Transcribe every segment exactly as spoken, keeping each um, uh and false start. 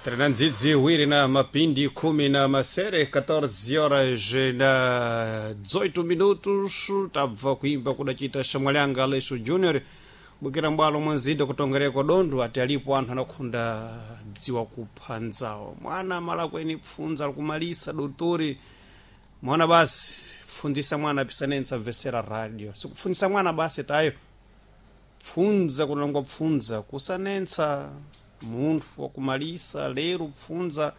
Tena ndzidzi iwiri na mapindi khumi na masere catorze horas na dezoito minutos. Tabva kuimba kudachita Shamwalanga Aleixo Junior bukira mbwalo mwanzinda kutongereko dondo ati alipo anthu anakhunda dziwa kupha nzawo. Mwana malakweni pfunza alikumalisa dotori mwana basi pfundzisa mwana pisanentsa vesera radio sikupfundzisa mwana basi tayo pfunza kunalongwa pfunza kusanentsa munthu wakumalisa lero pfunza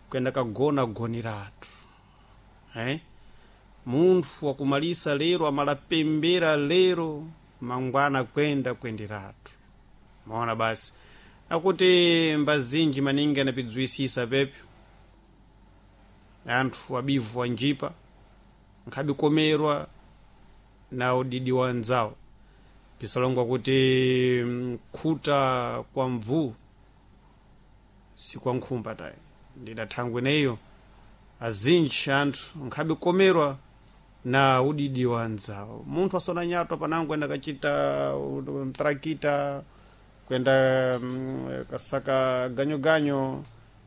kuyenda kagona goniratu eh? Munthu wakumalisa lero amalapembera lero mangwana kwenda kwenderatu maona basi akuti mbazinji maningi anapidziwisisa pepyo anthu abivu wanjipa nkhabikomerwa na udidi wa nzawo pisalongwa kuti khuta kwa mvu si kwa nkhumba tayi ndidathangwe neyo azinji anthu nkhabikomerwa na udidi wa nzawo. Munthu asona nyatwa panango enda kachita mtrakita kwenda mm, kasaka ganyoganyo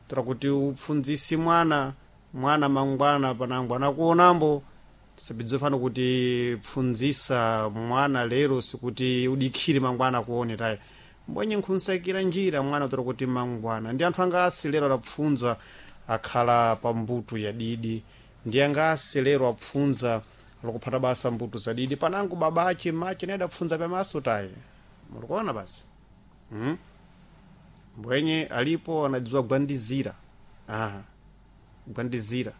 tora kuti upfundzisi mwana mwana mangwana panango anakuonambo tisabidzofana kuti pfundzisa mwana lero sikuti udikhire mangwana akuone tayi mbwenye nkhunsakira njira mwana tora kuti mangwana ndi anthu angasi lero adapfunza akhala pa mbuto ya didi ndi angasi lero apfunza alikuphata basa mbuto za didi panango babache mache naye adapfunza pamaso tayi mulikuona basi hmm? Mbwenye alipo anadziwa gwandizira aha gwandizira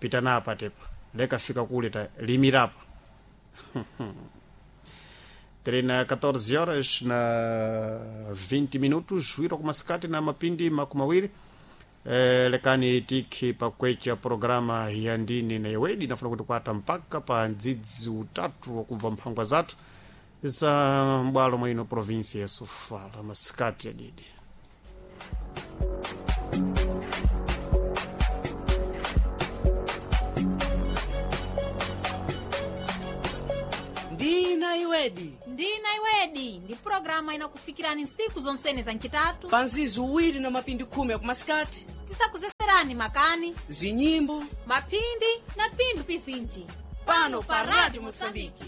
pita napa tepa lekafika kule ta limirapa Terena catorze horas na vinte minutos wiro kumasikati na mapindi makumawiri eh, lekani tiki pakwecha programa ya ndini na iwedi nafuna kuti kwata mpaka pa ndzidzi utatu wakubva mphangwa zathu za mbwalo mwino provinsia ya Sofala masikati ya didi. Ndina iwedi. Ndina iwedi ndi pulogalamu inakufikirani nsiku zonsene za ncitatu pa nzizi uwiri na mapindi khumi akumasikati tisakuzeserani makani, zinyimbo, mapindi na phindu pizinji pano pa Radio Moçambique.